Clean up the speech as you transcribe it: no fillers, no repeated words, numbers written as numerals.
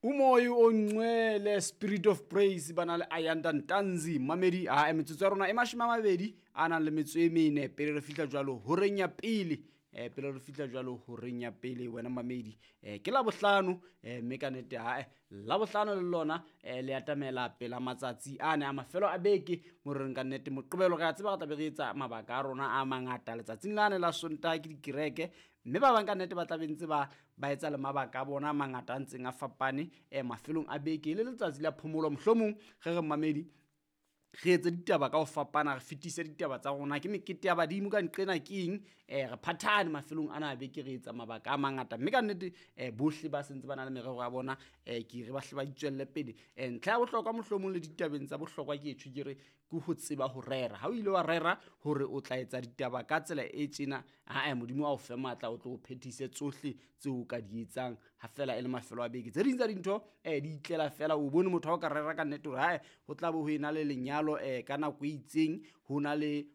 Umoya ongcwele, Spirit of Praise, ba na le Ayanda Ntanzi. Mamedi a metsotso ya rona e 24 pele re fihla jwalo horeng ya pele. Pele re fihla jwalo horeng ya pele, wena mamedi, ke Labohlano, mme ka nnete ae Labohlano le lona le atamela pela matsatsi ane a mafelo a beke mo re reng ka nnete Moqebelo re a tseba re tla be re etsa mabaka a rona a mangata. Letsatsing lane la Sontaha ke dikereke, mme ba bang ka nnete ba tla be ntse ba etsa le mabaka a bona a mangata a ntseng a fapane mafelong a beke, e le letsatsi la phomolo. Mohlomong re re mamedi re etse ditaba ka ho fapana, re fetise ditaba tsa rona, ke mekete ya badimo ka nqena ke eng, re phathane mafelong ana a beke, re etsa mabaka a mangata, mme ka nnete bohle ba sentse ba na le merero ya bona, ke re ba hle ba itswelle pele. Ntlha ya bohlokwa mohlomong le ditabeng tsa bohlokwa ke etsho, ke re ke ho tseba ho rera. Ha o ile wa rera hore o tla etsa ditaba ka tsela e tjena, ae Modimo a o fe matla, o tlo o phethise tsohle tseo o ka di etsang ha fela e le mafelo a beke. Tse ding tsa dintho di itlela fela. O bone motho ha o ka rera ka nnete hore hae ho tla be ho ena le lenyalo ka nako e itseng, ho na le